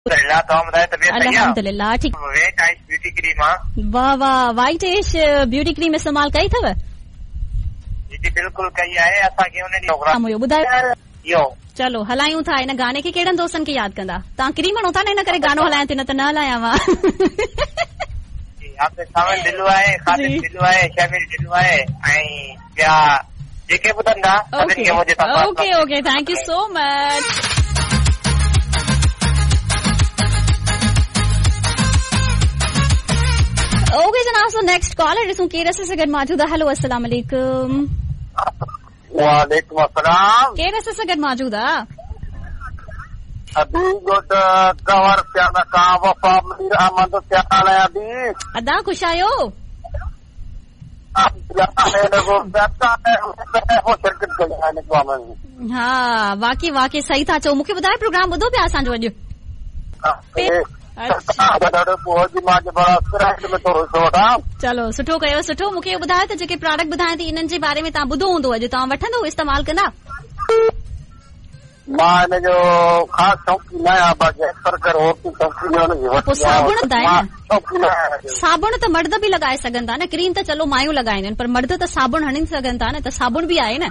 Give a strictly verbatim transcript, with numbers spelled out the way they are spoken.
अल्हम्दुलिल्लाह, तव्हां ॿुधायो तबियत सही आहे? अल्हम्दुलिल्लाह ठीक। वेट आइस ब्यूटी क्रीम आहे। वाह वाह, वाइट एश ब्यूटी क्रीम इस्तेमाल कई अथव? जी जी बिल्कुलु कई आहे। असांखे उन ॾींहुं प्रोग्राम हुयो, ॿुधायो। इहो चलो हलायूं था हिन गाने खे। कहिड़नि दोस्तनि खे यादि कंदा? तव्हां क्रीम हणो था न, इन करे गानो हलायां थी, न त न हलायां मां। जी, सावन ढिलो आहे, ख़ादिम ढिलो आहे, शमील ढिलो आहे ऐं ॿिया जेके ॿुधंदा सभिनी खे मुंहिंजे तरफ़ां। Okay okay, thank you so much. Okay जनाब, सो नेक्स्ट कॉलर ॾिसूं केरु असां सां गॾु मौजूदु आहे। हेलो, अस्सलाम वालेकुम। वालेकुम अस्सलाम। केरु असां सां गॾु मौजूदु आहे? अदी गोट कंवर प्याला का वफ़ा मीर अहमद प्याला अदी। अदा ख़ुशि आहियो? हा वाकई वाकई सही था चओ। मूंखे ॿुधायो, प्रोग्राम ॿुधो पिया असांजो अॼु? चलो सुठो कयो, सुठो। मूंखे इहो ॿुधायो त जेके प्रोडक्ट ॿुधायां थी इन्हनि जे बारे में तव्हां ॿुधो हूंदो अॼु, तव्हां वठंदो, इस्तेमालु कंदा? मां हिनजो ख़ासि शौक़ीन न आहियां, बाक़ी अक्सर करे औरतूं पोइ साबुण ॿुधाए न, साबुण त मर्द बि लॻाए सघनि था न, क्रीम त चलो मायूं लॻाईंदियूं आहिनि, पर मर्द त साबुण हणी सघनि था न, त साबुण बि आहे न।